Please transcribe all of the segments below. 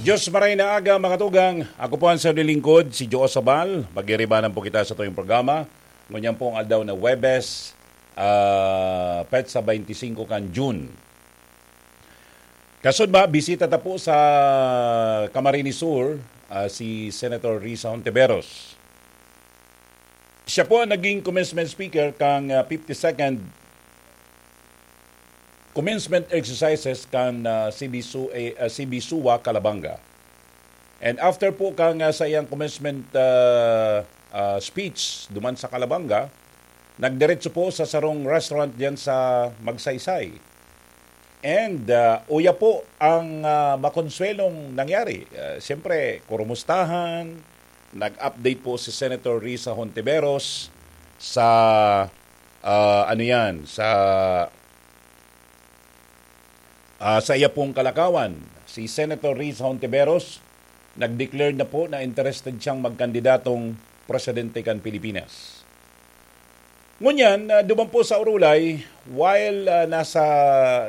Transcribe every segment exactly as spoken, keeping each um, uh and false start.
Diyos maray na aga, mga tugang. Ako po ang sarong lingkod, si Joe Sabal. Magiribanan po kita sa tuyong programa. Ngunyan po ang aldaw na Webes, ah, petsa twenty-five kan June. Kasod ba, bisita ta po sa Camarines Sur, ah, si Senator Risa Hontiveros. Siya po ang naging commencement speaker kang, ah, fifty-second commencement exercises kan, ah, C B S U A, ah, C B S U A Calabanga. And after po kang, ah, sa iyang commencement, ah, ah, speech duman sa Calabanga, nagdiretso po sa sarong restaurant diyan sa Magsaysay. And, ah, uya po ang, ah, makonsuelong nangyari. Ah, siyempre, kurumustahan, nag-update po si Senator Risa Hontiveros sa, ah, ano yan, sa, ah, sa iya pong kalakawan. Si Senator Risa Hontiveros nag-declare na po na interested siyang magkandidatong presidente kan Pilipinas. Ngunyan, ah, duman po sa Orolay, while, ah, nasa,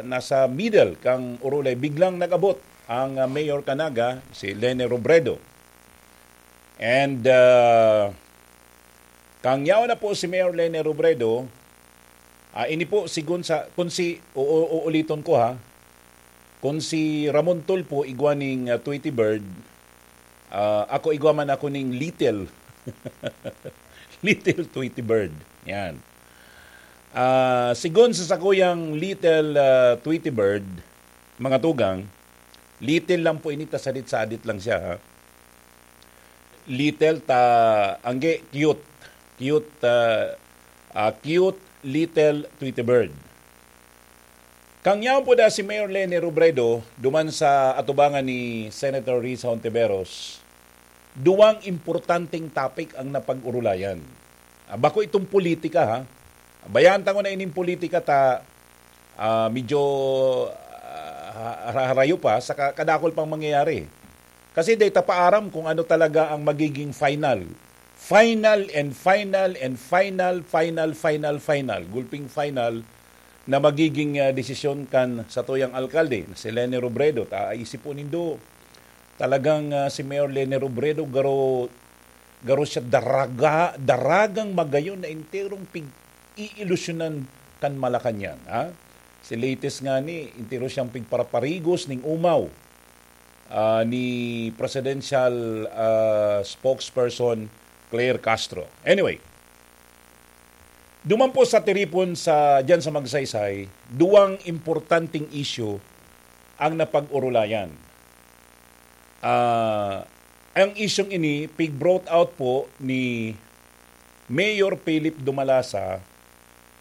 nasa middle kang Orolay, biglang nag-abot ang, ah, Mayor Canaga, si Leni Robredo. And, ah, kang yaon na po si Mayor Leni Robredo, ah, ini po, sigon sa, kung si, o, o, uuliton ko ha, kung si Ramon Tulfo igwa ning, ah, Tweety Bird, ah, ako igwa man ako ning Little. Little Tweety Bird. Yan. Ah, sigon sa sakuyang Little, ah, Tweety Bird, mga tugang, little lang po ini, ta sadit-sadit lang siya, ha? Little ta, angge, cute. Cute, ah, ah, cute little Tweety Bird. Kang yaon po da si Mayor Leni Robredo, duman sa atubangan ni Senator Risa Hontiveros, duwang importanteng topic ang napag-orolayan. Ah, bako itong politika, ha? Bayaan ta ngona ining politika ta, ah, medyo, ah, ha-, harayo pa, saka kadakol pang mangyayari. Kasi dai ta pa aram kung ano talaga ang magiging final. Final and final and final, final, final, final. Gulping final na magiging, ah, desisyon kan satuyang alkalde, na si Leni Robredo. Ta, isip po nindo, talagang, ah, si Mayor Leni Robredo, garo, garo siya daraga, daragang magayon na enterong pig-iilusyonan kan Malacañang, ha? Si latest nga ni, entero siyang pigparaparigos ning umaw, ah, ni presidential, ah, spokesperson Claire Castro. Anyway, duman po sa tiripon sa, diyan sa Magsaysay, duwang importanteng issue ang napag-orolayan. Ah, ang isyung ini, pig-brought out po ni Mayor Philip Dumalasa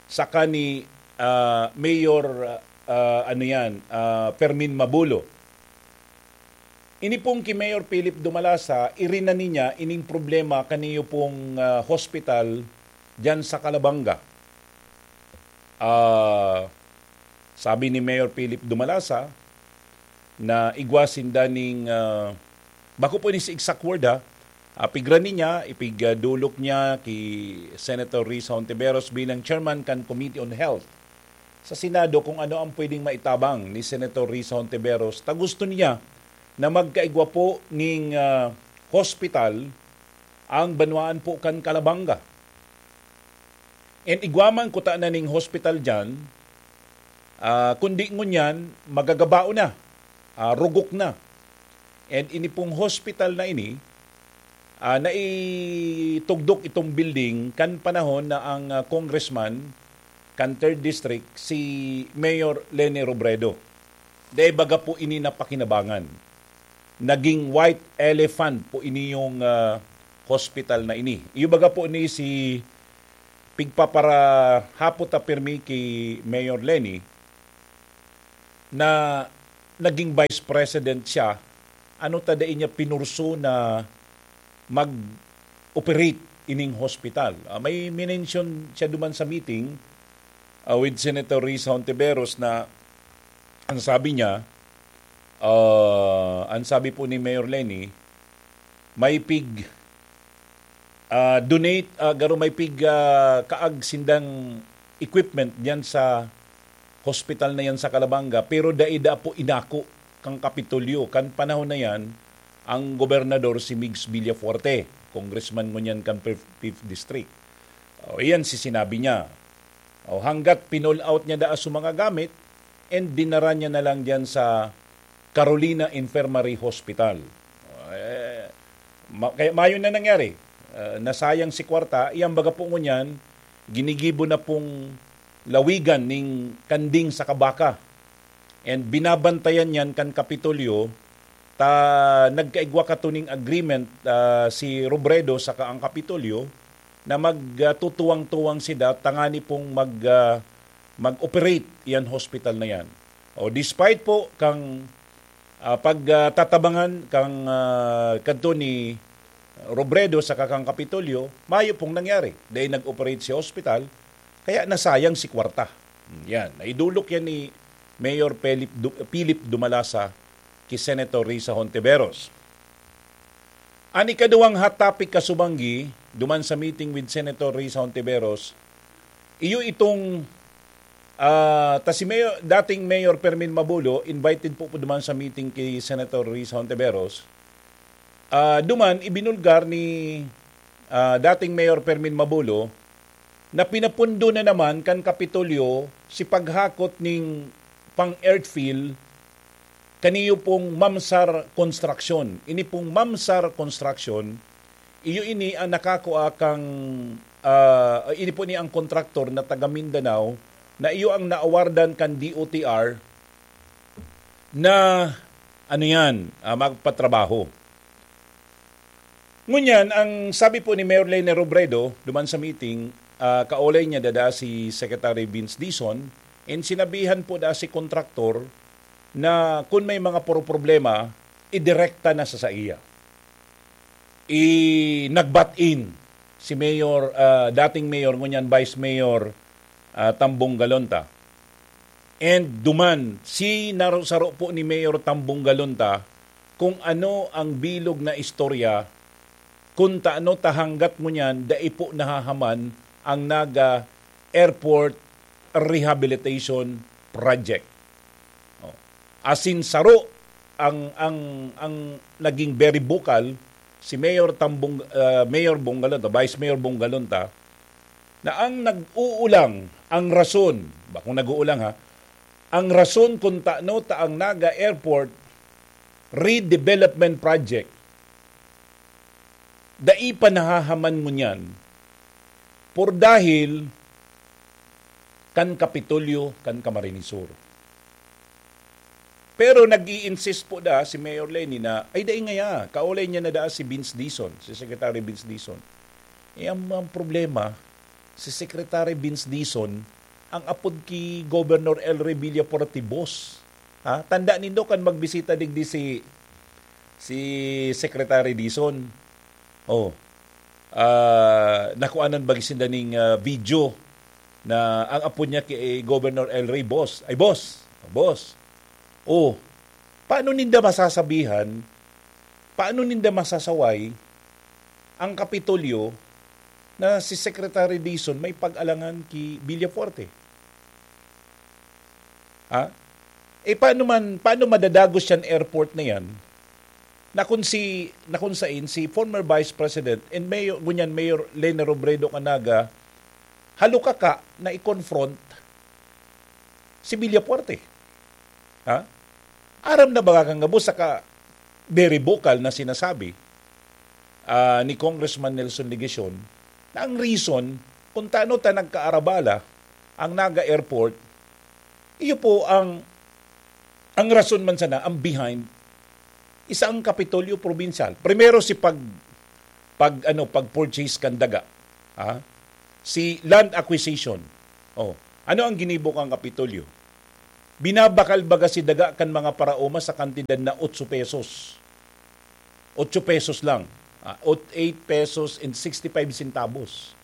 saka ni, ah, Mayor, ah, ano yan, ah, Fermin Mabulo. Ini pong ki Mayor Philip Dumalasa, irinanin niya ining problema kaniyo pong, ah, hospital diyan sa Calabanga. Ah, sabi ni Mayor Philip Dumalasa na igwa sinda ning, ah, bako po ni si exact word, ha, ah, pigra niya, ipigdolok niya ki Senator Risa Hontiveros bilang chairman kan Committee on Health sa Senado kung ano ang pwedeng maitabang ni Senator Risa Hontiveros ta gusto niya na magkaigwa po ning, ah, hospital ang banwaan po kan Calabanga. And igwa man kuta na ning hospital diyan, ah, kundi ngunyan, magagabao na, ah, rugok na. And ini pong hospital na ini, ah, naitugdok itong building kan panahon na ang, ah, congressman kan third District, si Mayor Leni Robredo. Dai baga po ini napakinabangan. Naging white elephant po ini yung, ah, hospital na ini. Iyo baga po ni si pigpaparahapot ta pirmi ki Mayor Leni na naging vice president siya, ano ta dai niya pinurso na mag-operate ining hospital? Ah, may minention siya duman sa meeting, ah, with Senator Risa Hontiveros na ang sabi niya, ah, ang sabi po ni Mayor Leni, may pig, ah, donate, ah, garo may pig, ah, kaag sindang equipment diyan sa hospital na yan sa Calabanga, pero dai da po inako kan Kapitolyo. Kan panahon na yan, ang gobernador si Migs Villafuerte, congressman ngunyan kan fifth, fifth District. O, iyan si sinabi niya. O, hanggat pinull out niya daa sa mga gamit, and dinara niya na lang diyan sa Carolina Infirmary Hospital. Eh, ma-, kaya mayo na nangyari. Ah, nasayang si kwarta, iyang baga po ngunyan, ginigibo na pong lawigan ning kanding sa kabaka. And binabantayan yan kan Kapitolyo, ta nagkaigwa katuning agreement, ah, si Robredo saka ang Kapitolyo na magtutuwang-tuwang sida tangani pong mag, ah, mag-operate yan hospital na yan. O despite po kang, ah, pagtatabangan kang, ah, kadto ni Robredo saka kang Kapitolyo, mayo pong nangyari. Dahil nag-operate si hospital, kaya nasayang si kwarta. Yan, naidolok yan ni Mayor Philip Du-, Philip Dumalasa ki Senator Risa Hontiveros. An ikaduwang hot topic, kasubanggi, duman sa meeting with Senator Risa Hontiveros, iyo itong, ah, ta si Mayor, dating Mayor Fermin Mabulo, invited po, po duman sa meeting ki Senator Risa Hontiveros. Ah, duman, ibinulgar ni, ah, dating Mayor Fermin Mabulo na pinapundo na naman kan Kapitolyo si paghakot ning pang-earthfill kaniyo pong Mamsar Construction. Ini pong Mamsar Construction, iyo ini ang nakakua kang, ah, ini po ni ang kontraktor na taga Mindanao na iyo ang naawardan kan D O T R na, ano yan, ah, magpatrabaho. Ngunyan, ang sabi po ni Mayor Leni Robredo, duman sa meeting, ah, kaolay niya dada si Secretary Vince Dizon, and sinabihan po da si kontraktor na kun may mga puro problema, idirekta na sa saiya. I-, nag-butt-in si Mayor, ah, dating Mayor, ngunyan Vice Mayor, ah, Tambong Galonta. And duman, sinaro-saro po ni Mayor Tambong Galonta kung ano ang bilog na istorya, kung taano ta hanggat ngunyan dai po nahahaman ang Naga Airport Rehabilitation Project. Oh. Asin saro ang, ang, ang naging very vocal, si Mayor Tambong, ah, Mayor Bong Galonta, Vice Mayor Bong Galonta, na ang nag-uulang, ang rason, bakong nag-uulang ha, ang rason kung taano ta ang Naga Airport Redevelopment Project, dai pa nahahaman ngunyan, por dahil kan Kapitolyo, kan Camarines Sur. Pero nag-i-insist po da si Mayor Leni na, "Ay, dai ngaya, kaolay niya na da si Vince Dizon, si Secretary Vince Dizon." Eh, ang, ang problema, si Secretary Vince Dizon, ang apod ki Governor El Rey Villafuerte, boss. Ha? Tanda nindo kan magbisita digdi si, si Secretary Dizon. Oh. Ah, nakuanan ba sinda ning, ah, video na ang apo niya kay Governor El Rey, boss? Ay, boss. Boss. Oh. Paano ninda masasabihan? Paano ninda masasaway ang Kapitolyo na si Secretary Dizon may pag-alangan ki Villafuerte? Ha? Eh, paano man, paano madadagos yan airport na yan? Na kung si, na kung sain, si former Vice President and Mayor, ngunyan Mayor Leni Robredo Canaga, halukaka na i-confront si Villafuerte. Ha? Aram na ba kang gabos saka very vocal na sinasabi, ah, ni Congressman Nelson Legacion na ang reason kung taano ta nagkaarabala ang Naga Airport, iyo po ang, ang rason man sana, ang behind, isa ang Kapitolyo Probinsyal. Primero si pag, pag, ano, pag-purchase kan daga. Ha? Si land acquisition. Oh, ano ang ginibo kan Kapitolyo? Binabakal baga si daga kan mga paraoma sa kantidad na otso pesos. Otso pesos lang. Ah, ot-, eight pesos and sixty-five centavos.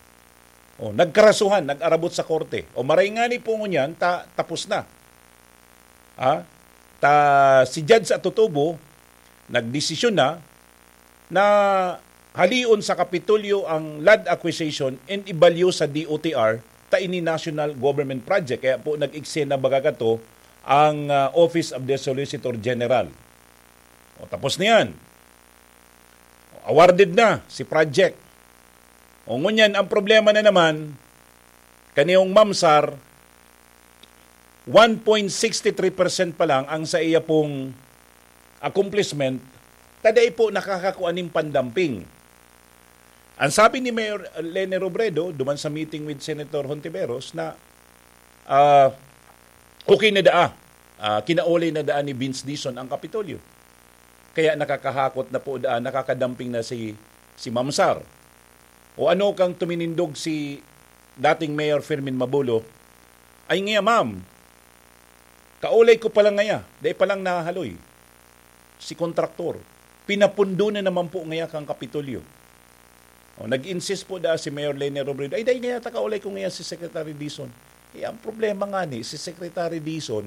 Oh, nagkarasuhan, nag-arabot sa korte. O maray ngani po ngunyan, ta-, tapos na. Ha? Ta, si Judge Atutubo, nagdesisyon na, na halion sa Kapitolyo ang land acquisition and ibalyo sa D O T R, ta ini national government project. Kaya po nag-eksena baga kato ang, ah, Office of the Solicitor General. O, tapos na yan. Awarded na si project. O ngunyan, ang problema na naman, kaniyong MAMSAR, one point six three percent pa lang ang sa iya pong accomplishment, ta dai po nakakakua ning pandamping. Ang sabi ni Mayor Leni Robredo, duman sa meeting with Senator Hontiveros, na, ah, okay na daa, ah, kinaulay na daan ni Vince Dizon ang Kapitolyo. Kaya nakakahakot na po daan, nakakadamping na si, si MAMSAR. O ano kang tuminindog si dating Mayor Fermin Mabulo, "Ay nga, ma'am, kaulay ko pa lang ngaya, dai pa lang nahaloy si kontraktor. Pinapundo na naman po ngaya kang Kapitolyo." O, nag-insist po da si Mayor Leni Robredo, "Ay, dai ngaya, ta kaulay ko ngaya si Secretary Dizon." Eh, ang problema nga ni, si Secretary Dizon,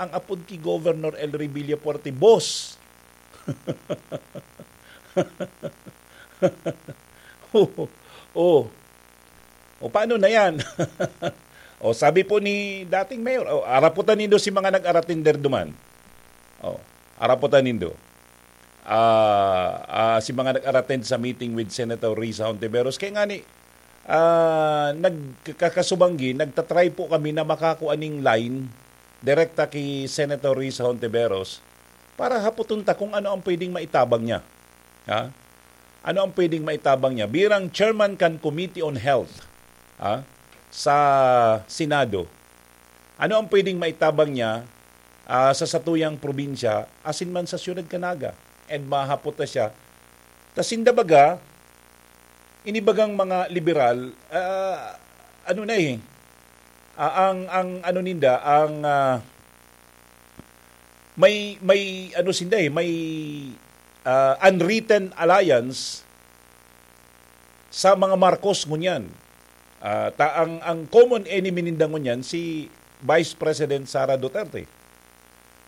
ang apod ki Governor El Rey Villafuerte, boss. Oh, oh. O, paano na yan? O, sabi po ni dating mayor, o, araputan nindo si mga nag-aratender duman. O, araputan nindo. Ah, ah, si mga nag-aratend sa meeting with Senator Risa Hontiveros. Kaya nga ni, ah, nagkakasubanggi, nagtatry po kami na makakua ning line direkta ki Senator Risa Hontiveros para hapoton ta kung ano ang pwedeng maitabang niya. Ha? Ano ang pwedeng maitabang niya? Bilang chairman kan Committee on Health, ha? Sa Senado, ano ang pwedeng maitabang niya, ah, sa satuyang probinsya, asin man sa siyudad kan Naga? And mahapot na siya. Ta sinda baga, inibagang mga liberal, ah, ano na eh, ah, ang, ang ano ninda, ang, ah, may, may ano sinda eh, may, ah, unwritten alliance sa mga Marcos ngunyan. Ah, ta ang, ang common enemy ninda ngunyan si Vice President Sara Duterte.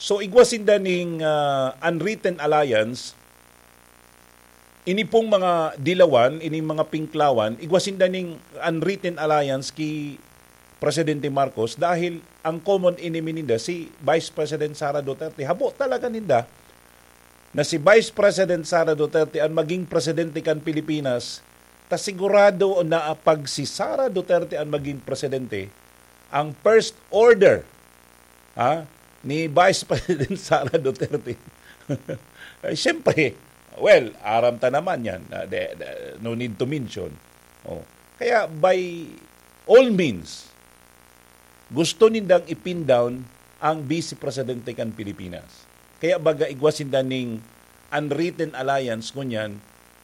So, igwa sinda ning, ah, unwritten alliance. Ini pong mga dilawan, ining mga pinklawan, igwa sinda ning unwritten alliance ki Presidente Marcos dahil ang common enemy ninda si Vice President Sara Duterte. Habo talaga ninda na si Vice President Sara Duterte ang maging presidente kan Pilipinas, ta sigurado na pag si Sara Duterte ang maging presidente, ang first order, ha, ni Vice President Sara Duterte, eh, siyempre, well, aram ta naman yan, ah, de, de, no need to mention. Oh. Kaya by all means, gusto nindang i-pin down ang Vice Presidente kan Pilipinas. Kaya baga igwa sinda ning unwritten alliance ngunyan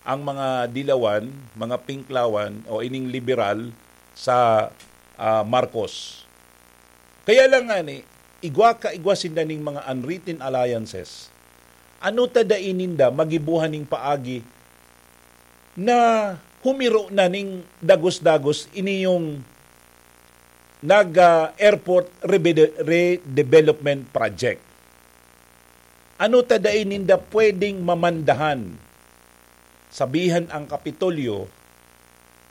ang mga dilawan, mga pinklawan o ining liberal sa, ah, Marcos. Kaya lang nga ni, igwa ka igwa sinda ning mga unwritten alliances. Ano ta dai ninda magibuhan ning paagi na humiro na ning dagos-dagos ini yung nag, ah, airport rebede-, redevelopment project? Ano ta dai ninda pwedeng mamandahan? Sabihan ang Kapitolyo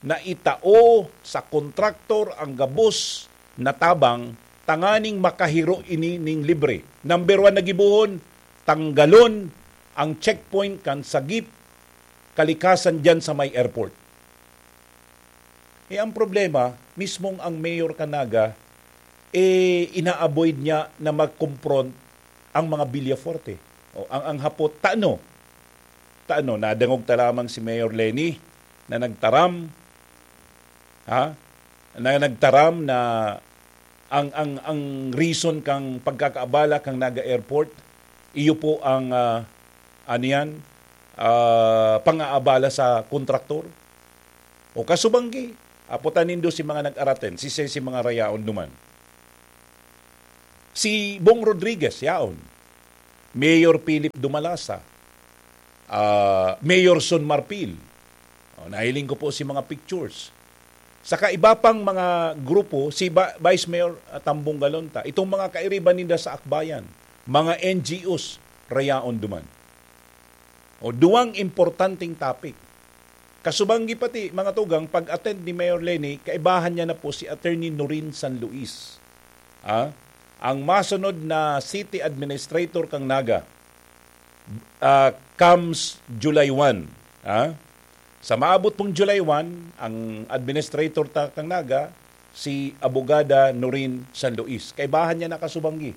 na itao sa kontraktor ang gabos na tabang tanganing makahiro ini ning libre. Number one na gibohon, tanggalon ang checkpoint kan sagip kalikasan diyan sa may airport. Eh, ang problema, mismong ang mayor kan Naga, eh, ina-avoid niya na mag-confront ang mga Villafuerte. O, ang, ang hapot, tano? Tano, nadangog ta lamang si Mayor Leni na nagtaram, ha? Na nagtaram na ang, ang, ang reason kang pagkakaabala kang Naga Airport, iyo po ang, ah, ano yan, ah, pang-aabala sa kontraktor. O kasubanggi, apotan nindo si mga nag-araten, si, si, si mga rayaon duman. Si Bong Rodriguez, yaon. Mayor Philip Dumalasa, ah, Mayor Son Marfil. O, nahiling ko po si mga pictures. Saka iba pang mga grupo, si Ba-, Vice Mayor, ah, Tambong Galonta, itong mga kairiban ninda sa Akbayan, mga N G Os, rayaon duman. O, duwang importanteng topic. Kasubanggi pati, mga tugang, pag-attend ni Mayor Leni, kaibahan niya na po si Attorney Norin San Luis. Ah, ang masunod na city administrator kang Naga, ah, comes July one. Ha? Sa maabot pong July one, ang administrator ta kan Naga, si Abogada Noreen San Luis. Kaibahan niya na kasubanggi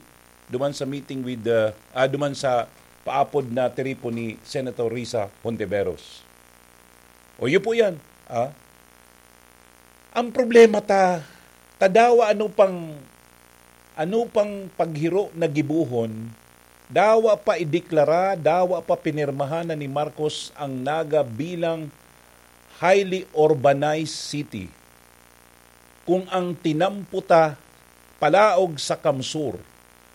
duman sa meeting with, uh, ah, duman sa paapod na tiripon ni Senator Risa Hontiveros. O, yun po yan. Ah? Ang problema ta, ta dawa ano pang, ano pang paghiro na gibohon, dawa pa ideklara, dawa pa pinirmahan na ni Marcos ang Naga bilang highly urbanized city. Kung ang tinampo ta palaog sa CamSur,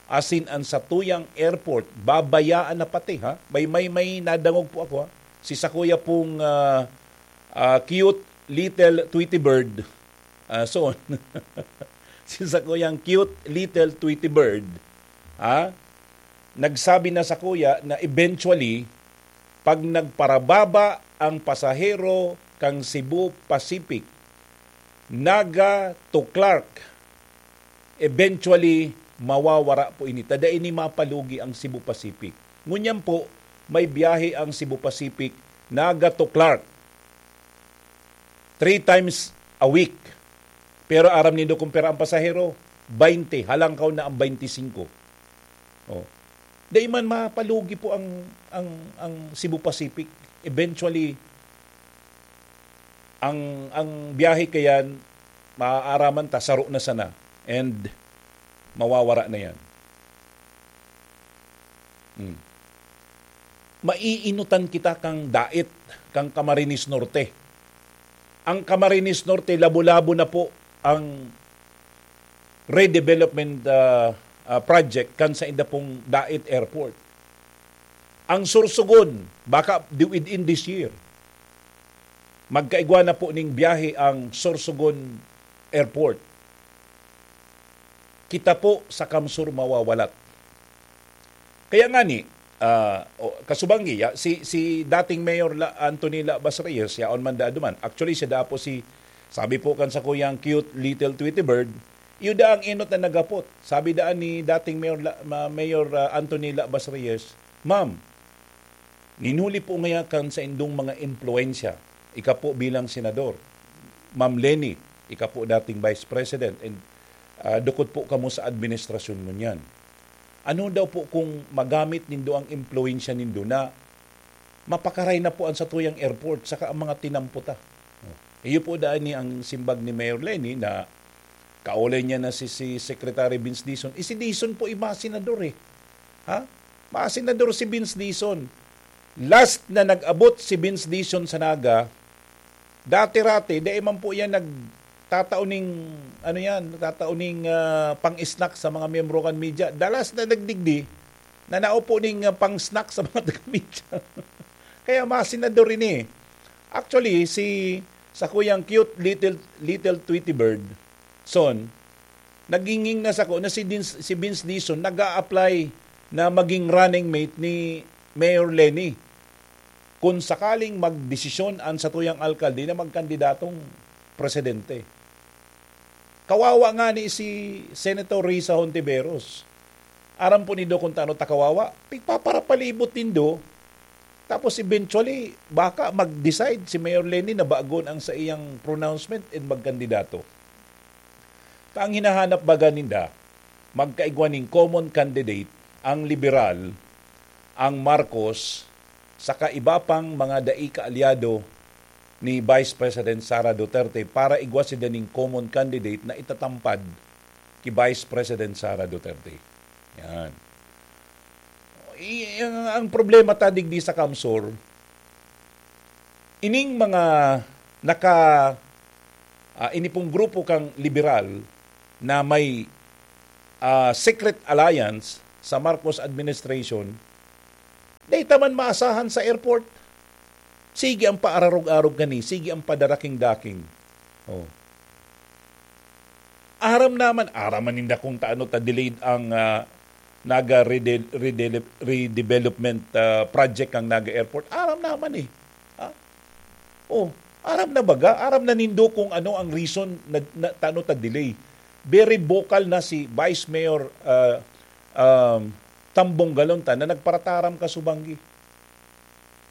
asin an satuyang airport, babayaan na pati, ha? May, may, may nadangog po ako, ha? Si sakuya pong, ah, ah, cute little Tweety Bird, ah, so, si sakuyang cute little Tweety Bird, ha? Nagsabi na sakuya na eventually, pag nagparababa ang pasahero kan Cebu Pacific, Naga to Clark, eventually, mawawara po ini. Ta dai ini mapalugi ang Cebu Pacific. Ngunyan po, may biyahe ang Cebu Pacific, Naga to Clark, three times a week. Pero aram nindo kung pira ang pasahero? Baynte, halangkaw na ang baynte singko. Oh. Dai man mapalugi po ang, ang, ang Cebu Pacific. Eventually, ang, ang biyahe kayan, maaaraman ta, saro na sana. And mawawara na yan. Hmm. Maiinutan kita kang dait, kang Camarines Norte. Ang Camarines Norte, labo-labo na po ang redevelopment, ah, ah, project kan sa inda pong Dait Airport. Ang Sorsogon, baka di-, within this year, magkaigwa na po ning biyahe ang Sorsogon Airport. Kita po sa CamSur mawawalat. Kaya nga ni, ah, o, kasubanggi, ya, si, si dating Mayor La, Anthony Labas Reyes, yaon man daa duman. Actually, siya daa po si, sabi po kan sakuyang cute little Tweety Bird, iyo daa ang enot na naghapot. Sabi daan ni dating Mayor La, ma-, Mayor, ah, Anthony Labas Reyes, "Ma'am, ninuli po ngaya kan saindong mga impluwensya, ika po bilang senador, Ma'am Leni, ika po dating Vice President, and, ah, dukot po kamo sa administrasyon ngunyan. Ano daw po kung magamit nindo ang impluwensya nindo na mapakaray na po an satuyang airport saka ang mga tinampo ta?" Oh. Iyo po daan ni ang simbag ni Mayor Leni na kaolay niya na si, si Secretary Vince Dizon. Eh, si Dizon po, eh, masenador, eh. Ha? Masenador si Vince Dizon. Last na nag-abot si Vince Dizon sa Naga, dati-rati, dai man po yan nagtatao ning, ano yan, nagtatao ning, ah, pang-snack sa mga miyembro kan media. The last na nagdigdi, nanao po ning, ah, pang-snack sa mga taga-media. Kaya masenador ini. Actually, si, sakuyang cute little, little Tweety Bird, son, naginging na sako na si Dins-, si Vince Dizon nag-a-apply na maging running mate ni Mayor Leni kung sakaling magdesisyon an satuyang alkalde na magkandidatong presidente. Kawawa nga ni si Senator Risa Hontiveros. Aram po nindo kung tano ta kawawa? Pigpaparapalibot nindo. Tapos eventually, baka mag-decide si Mayor Leni na bagon ang sa iyang pronouncement and magkandidato. Ta ang hinahanap baga ninda, magkaigwa ning common candidate, ang liberal, ang Marcos, saka iba pang mga dai kaalyado ni Vice President Sara Duterte para igwa sinda ning common candidate na itatampad ki Vice President Sara Duterte. Yan. I-, ang, ang problema ta digdi sa CamSur, ining mga naka, ah, ini pong grupo kang liberal na may, ah, secret alliance sa Marcos administration, dai ta man maasahan sa airport. Sige ang paararog-arog kani, sige ang padaraking-daking. Oh. Aram naman, aram man ninda kung taano ta delayed ang, ah, Naga rede-, redele-, redevelopment, ah, project kang Naga Airport. Aram naman eh. Ha? Oh, aram na baga, aram na nindo kung ano ang reason na, na taano ta delay. Very vocal na si Vice Mayor, ah, um, Tambong Galonta na nagparataram kasubanggi.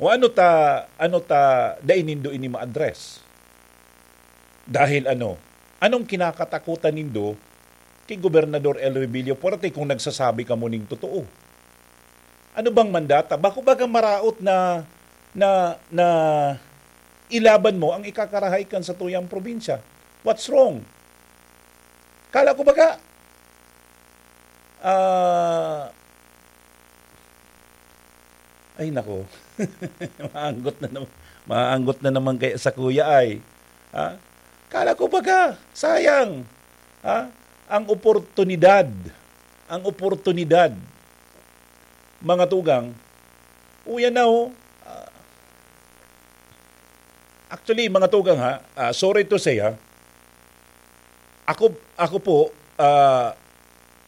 O ano ta, ano ta, dai nindo ini ma-address? Dahil ano? Anong kinakatakutan nindo ki Gobernador Elwin Villafuerte kung nagsasabi kamo ning totoo? Ano bang mandata? Bako baga maraot na, na, na ilaban mo ang ikakarahay kan satuyang probinsya? What's wrong? Kala ko baga, ah, ay nako, maanggot na naman, maanggot na naman kaya sa kuya ay. Ha? Kala ko baga, sayang. Ha? Ang oportunidad, ang oportunidad, mga tugang, uyan na oh. Ah, actually, mga tugang ha, ah, sorry to say ha, ako, ako po, ah,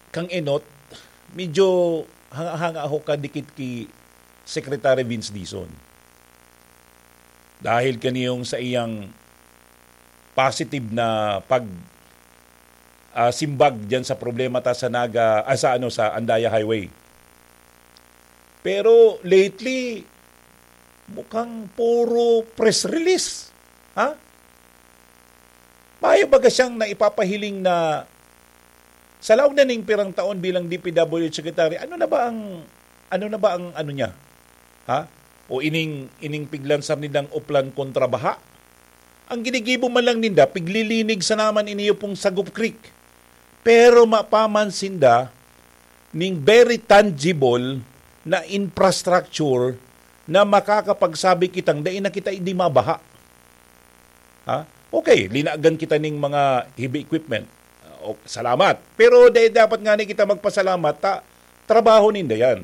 kang Enot, medyo hanga-hanga ako kadikit ki Secretary Vince Dizon. Dahil kaniyong sa iyang positive na pag, ah, simbag diyan sa problema ta sa Naga, ah, sa ano, sa Andaya Highway. Pero lately, mukhang puro press release. Ha? Mayo baga siyang naipapahiling na sa laog na ning pirang taon bilang D P W H secretary, ano na ba ang, ano na ba ang ano niya? Ha? O ining, ining piglansar nindang Oplan kontra baha? Ang ginigibo man lang ninda, piglilinig sa naman iniyo pong Sagop Creek. Pero mapaman sinda ning very tangible na infrastructure na makakapagsabi kitang dai na kita idi mabaha. Ha? Okay, linagan kita ning mga heavy equipment. O, salamat. Pero dai dapat nga ni kita magpasalamat ta trabaho ninda yan.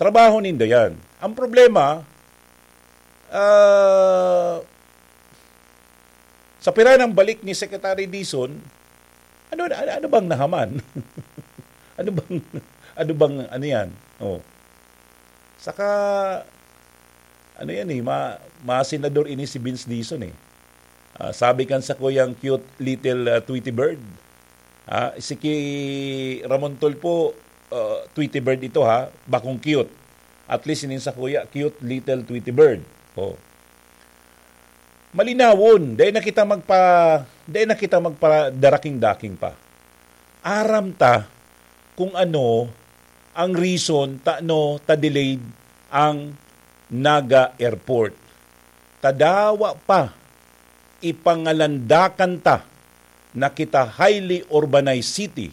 Trabaho ninda yan. Ang problema, ah, sa pira ng balik ni Secretary Dizon, ano, ano, ano bang nahaman? Ano bang, ano bang, ano yan? Oh. Saka, ano yan eh, ma, masenador ini si Vince Dizon eh. Ah, sabi kan sakuyang cute little, ah, Tweety Bird. Ah, si ki Ramon Tulfo, ah, Tweety Bird ito ha, bakong cute. At least inin sakuya, cute little Tweety Bird. Oh. Malinawon, dai na kita magpa, dai na kita magpadaraking-daking pa. Aram ta kung ano ang reason tano ta delayed ang Naga Airport. Ta dawa pa, ipangalandakan ta na kita highly urbanized city,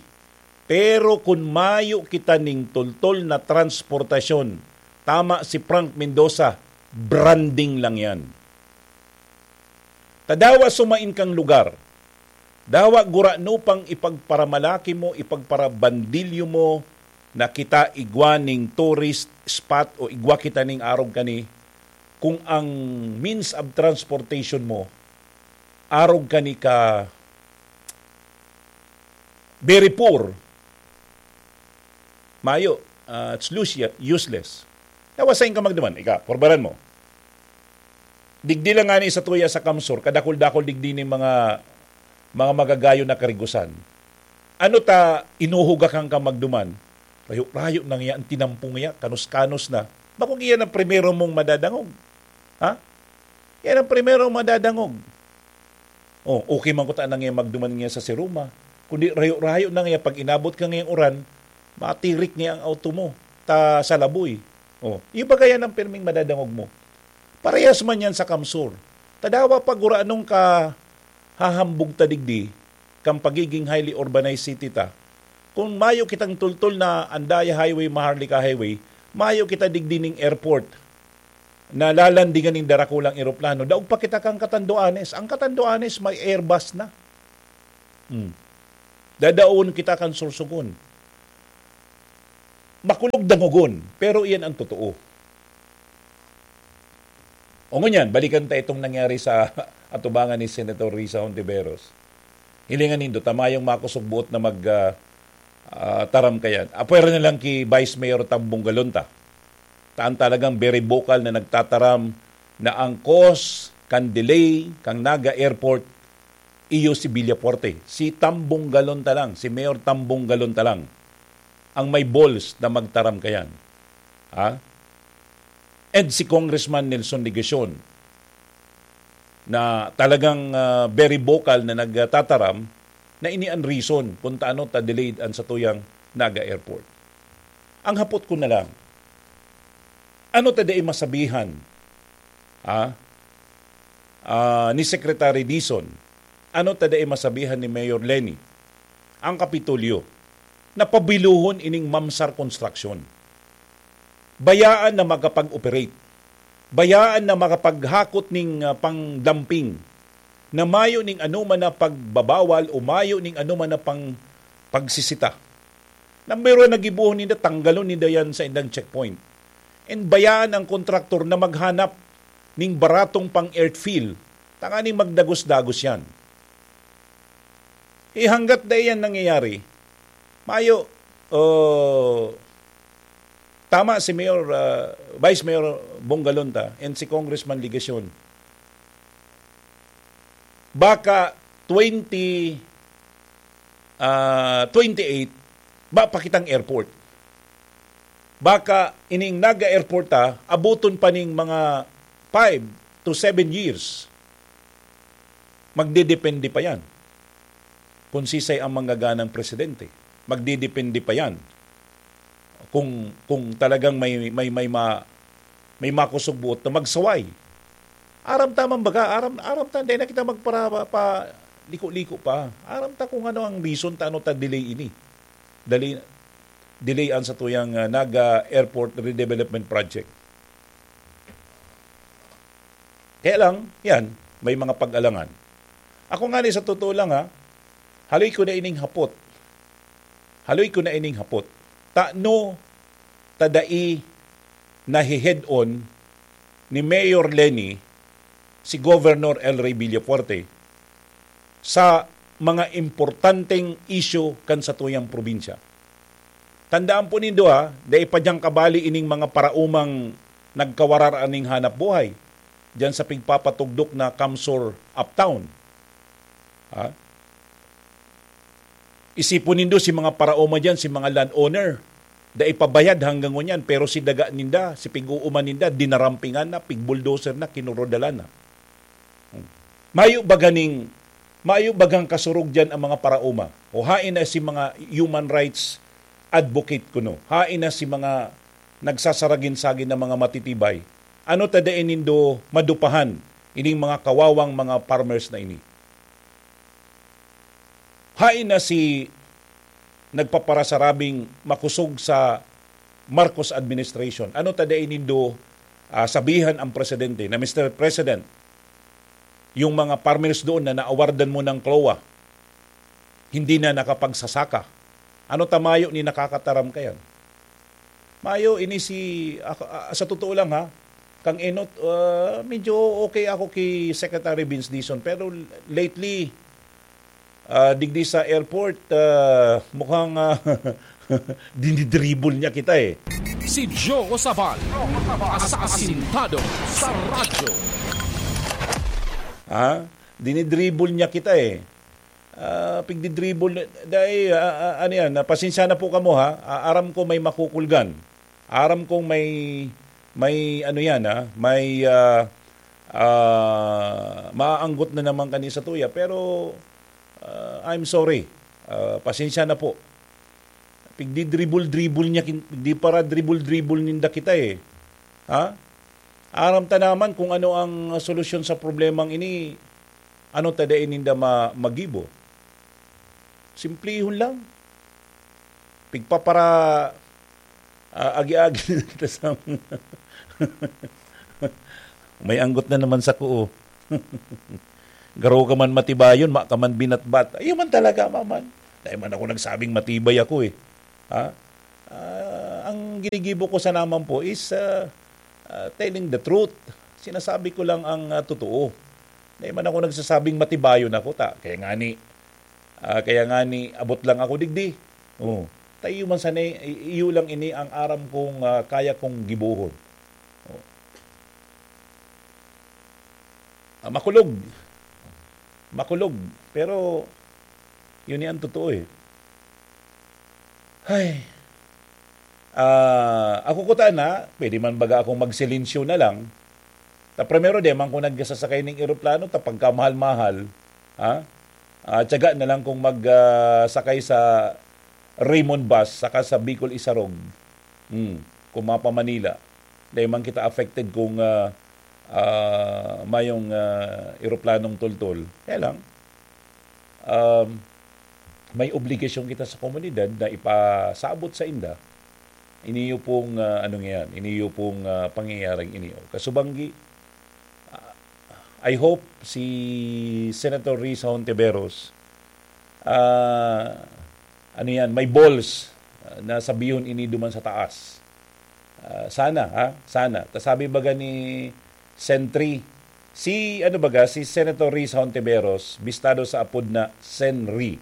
pero kun mayo kita ning tultol na transportasyon, tama si Frank Mendoza, branding lang yan. Ta dawa sumain kang lugar, dawa gurano pang ipagparamalaki mo, ipagparabandilyo mo na kita igwa ning tourist spot o igwa kita ning arog kani, kung ang means of transportation mo arog kani ka very poor, mayo, ah, it's lus-, useless. Dawa sain ka magduman, ika, purbaran mo. Digdi lang ngani sa tuya sa Kamsur, kadakul-dakul digdi ning mga, mga magagayon na karigusan. Ano ta inuhugakan ka magduman? Rayo-rayo na ngiya, ang tinampong ngiya, kanos-kanos na. Bakong iyan ang primero mong madadangog. Ha? Yan ang primero madadangog. Oh, okay man ko ta na ngiya magduman ngiya sa Siruma. Kundi rayo-rayo na ngiya, pag inabot ka ngayang uran, matirik ngiya ang auto mo ta sa laboy. Oh, iyo ba kaya ang pirming madadangog mo? Parehas man yan sa Kamsur. Ta dawa pag ura anong ka hahambog ta digdi, kan pagiging highly urbanized city ta, kung mayo kitang tultol na Andaya Highway, Maharlika Highway, mayo kita digdi ning airport na lalandingan nin darakulang eroplano. Daog pa kita kan Catanduanes. Ang Catanduanes may Airbus na. Hmm. Dadaon kita kan Sorsogon. Makulog dangogon, pero iyan ang totoo. O ngunyan, balikan ta itong nangyari sa atubangan ni Senator Risa Hontiveros. Hilingan nindo, ta mayong makosog buot na mag, ah, ah, taram kayan. Apwera na lang ki Vice Mayor Tambong Galon ta. Ta an talagang very vocal na nagtataram na ang cause kan delay kan Naga Airport iyo si Villafuerte. Si Tambong Galon ta lang, si Mayor Tambong Galon ta lang ang may balls na magtaram kayan. Ha? And si Congressman Nelson Legacion, na talagang, ah, very vocal na nagtataram na ini an reason kung taano ta delayed an satuyang Naga Airport. Ang hapot ko na lang, ano ta dai masabihan, ah, ah, ni Secretary Dizon? Ano ta dai masabihan ni Mayor Leni? Ang Kapitolyo, na pabiluhon ining Mamsar Construction. Bayaan na makapag-operate. Bayaan na makapaghakot ning, ah, pang-dumping, na mayo ning anoman na pagbabawal o mayo ning anoman na pang pagsisita. Number one na gibohon ninda, tanggalon ninda yan sa indang checkpoint. And bayaan ang kontraktor na maghanap ning baratong pang-earthfill, tanganing magdagos-dagos yan. Eh, hanggat dai yan nangyayari, mayo, oh, tama si Mayor, ah, Vice Mayor Bongalonta and si Congressman Legacion. Baka twenty, ah, twenty-eight, ba pa kitang airport. Baka ining Naga Airport, ah, abuton pa ning mga five to seven years. Magdedepende pa yan kung sisay ang manggaganang presidente. Magdedepende pa yan kung, kung talagang may, may, may ma-, may makusog buot na magsaway. Aram ta man baga, aram, aram ta, dai na kita magpara-, pa, liko-liko pa. Aram ta kung ano ang reason ta ano ta delay ini. Dali, delay an satuyang, ah, Naga Airport Redevelopment Project. Kaya lang, yan, may mga pag-alangan. Ako nga ni, sa totoo lang ha, haloy ko na ining hapot. Haloy ko na ining hapot. Tano ta dai nahe-head-on ni Mayor Leni si Governor El Rey Villafuerte sa mga importanteng isyu kan satuyang probinsya. Tandaan po nindo ha, dai pa diyan kabali ining mga paraomang nagkawarar aning hanap buhay diyan sa pigpapatugdok na CamSur Uptown. Ha? Isipon nindo si mga paraoma diyan, si mga landowner. Dai pa bayad hanggang ngunyan, pero si daga ninda, si pig-uuman ninda, dinarampingan na, pig-bulldozer na, kinurodalan na. Hmm. Mayo ba ganing, mayo bagang kasurog diyan ang mga paraoma? O hain na si mga human rights advocate kuno? Hain na si mga nagsasaragin-sagin na mga matitibay? Ano ta dai nindo madupahan ining mga kawawang mga farmers na ini? Hain na si nagpaparasarabing makusog sa Marcos administration. Ano ta dai nindo, ah, sabihan ang presidente na, "Mister President, yung mga farmers doon na naawardan mo ng CLOA, hindi na nakapagsasaka." Ano ta mayo ni nakakataram kayan? Mayo ini si, ako, ah, sa totoo lang ha, kang Enot, ah, medyo okay ako ki Secretary Vince Dizon, pero lately, ah, digdi sa airport, ah, mukhang, ah, dinidribble niya kita eh. Si Joe Sabal, asasintado sa radyo. Ha? Dinidribble niya kita eh. Ah, pigdidribble, dai, ah, ah, ano yan, ah, pasensya na po kamo ha. Ah, aram ko may makukulgan. Aram kong may, may ano yan ha, may, ah, ah, maaanggot na naman kani sa tuya. Pero, ah, I'm sorry. Ah, pasensya na po. Pigdidribble-dribble niya, kin-, di para dribble-dribble ninda kita eh. Ha? Aram ta naman kung ano ang solusyon sa problemang ini, ano ta dai ninda ma-, magibo. Simplihon lang. Pigpapara-, ah, agi-agi na ta sa may anggot na naman sa kuo. Garo ka man matibayon, ma ka man binatbat. Ayun man talaga, maman. Dai man ako nagsabing matibay ako eh. Ha? Ah, ang ginigibo ko sana man po is, ah, ah, telling the truth. Sinasabi ko lang ang, ah, totoo. Dai man ako nagsasabing matibayon ako, ta. Kaya nga ni, ah, kaya nga ni, abot lang ako digdi. Oh. Ta iyo man sana, i-, iyo lang ini ang aram kong, ah, kaya kong gibohon. Oh. Ah, makulog. Makulog. Pero, yun ni ang totoo eh. Ay. Ah, ako kuta na, pwede man baga akong magsilensyo na lang. Ta primero, di man ko nagsasakay ning eroplano, ta pagkamahal-mahal, ha? Ah, tiyaga na lang kung mag, ah, sakay sa Raymond Bus, saka sa Bicol Isarog. Hmm, kung mapa Manila. Di man kita affected kung, ah, ah, mayong, ah, eroplanong tultol. Kaya lang, um, may obligasyon kita sa komunidad na ipasabot sa inda iniyo pong, ah, ano nga yan, iniyo pong, ah, pangyayaring iniyo. Kasubanggi, ah, I hope si Senator Risa Hontiveros, ah, ano yan, may balls, ah, na sabihon ini duman sa taas. Ah, sana, ha? Sana. Ta sabi baga ni Sentry, si, ano baga, si Senator Risa Hontiveros, bistado sa apod na Senry.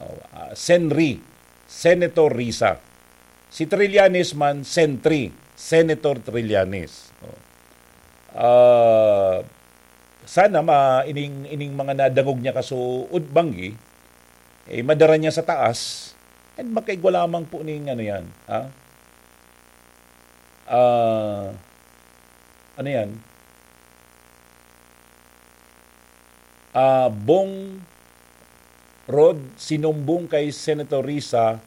Oh, ah, Senry, Senator Risa. Si Trillanes man, Sentry, Senator Trillanes. Oh. Ah, sana ma-, ining, ining mga nadangog niya kasuod banggi, eh, madara niya sa taas, and makaigwa lamang po ning ano yan, ha? Ah, ano yan? Ah, Bong Rod, sinumbong kay Senator Risa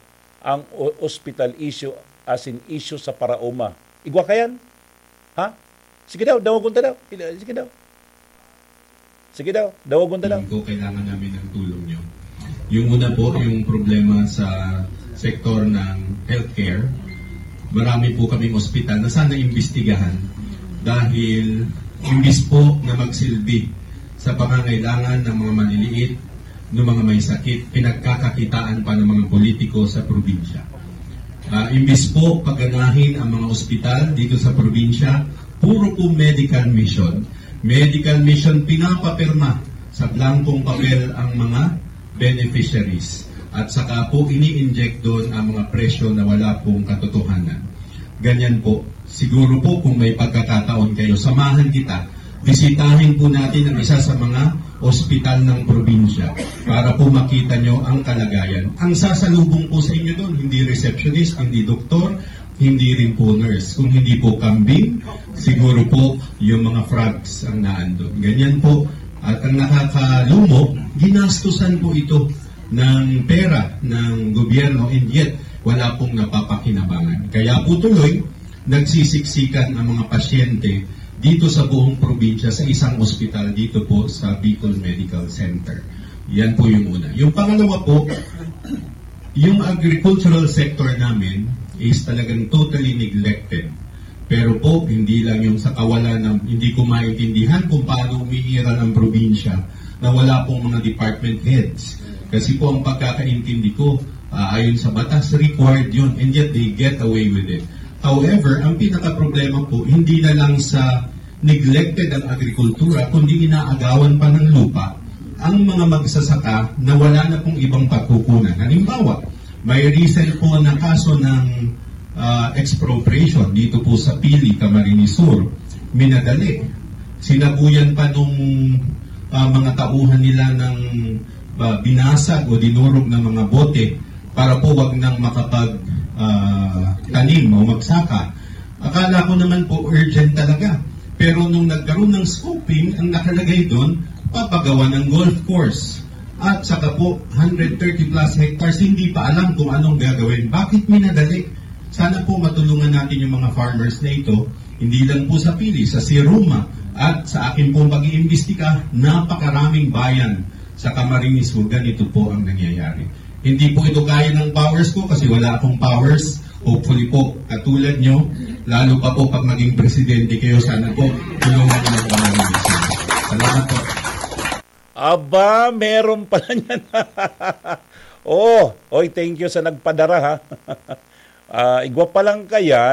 ang o-, hospital issue as in issue sa Paraoma. Igwa ka yan? Ha? Sige daw, dawagon ta daw. Pila-, sige daw. Sige daw, dawagon ta daw. Tingin ko kailangan namin ng tulong nyo. Yung una po, yung problema sa sektor ng healthcare. Marami po kaming ospital na sana imbestigahan dahil imbis po na magsilbi sa pangangailangan ng mga maliliit, ng mga may sakit, pinagkakakitaan pa ng mga politiko sa probinsya. Ah, imbis po paganahin ang mga ospital dito sa probinsya, puro po medical mission. Medical mission, pinapapirma sa blankong papel ang mga beneficiaries. At saka po ini-inject doon ang mga presyo na wala pong katotohanan. Ganyan po. Siguro po kung may pagkakataon kayo, samahan kita. Bisitahin po natin ang isa sa mga ospital ng probinsya para po makita nyo ang kalagayan. Ang sasalubong po sa inyo doon, hindi receptionist, hindi doktor, hindi rin po nurse. Kung hindi po kambing, siguro po yung mga frogs ang naandun. Ganyan po. At ang nakakalumo, ginastusan po ito ng pera ng gobyerno, and yet wala pong napapakinabangan. Kaya po tuloy, nagsisiksikan ang mga pasyente dito sa buong probinsya sa isang ospital dito po sa Bicol Medical Center. Yan po yung una. Yung pangalawa po, yung agricultural sector namin is talagang totally neglected. Pero po, hindi lang yung sa kawalan ng, hindi ko maintindihan kung paano umiiral ang probinsya na wala pong mga department heads. Kasi po ang pagkakaintindi ko, ah, ayon sa batas, required yun. And yet they get away with it. However, ang pinakaproblema po, hindi na lang sa neglected ang agrikultura, kundi inaagawan pa ng lupa ang mga magsasaka na wala na pong ibang pagkukunan. Halimbawa, may recent po na kaso ng, ah, expropriation dito po sa Pili, Camarines Sur. Minadali. Sinabuyan pa nung, ah, mga tauhan nila ng, ah, binasag o dinurog ng mga bote para po wag nang makapag, ah, tanim o magsaka. Akala ko naman po urgent talaga. Pero nung nagkaroon ng scoping, ang nakalagay doon, papagawa ng golf course. At saka po, hundred thirty plus hectares, hindi pa alam kung anong gagawin. Bakit minadali? Sana po matulungan natin yung mga farmers na ito, hindi lang po sa Pili, sa Siruma, at sa akin pong pag-iimbestiga, napakaraming bayan sa Camarines Sur, ganito po ang nangyayari. Hindi po ito kaya ng powers ko kasi wala akong powers. Hopefully po, katulad nyo, lalo pa po pag maging presidente kayo, sana po, tulungan nyo ang Camarines Sur. Salamat po. Aba, meron pala niyan. Oh, oy, thank you sa nagpadara, ha. Ah, igwa pa lang kaya,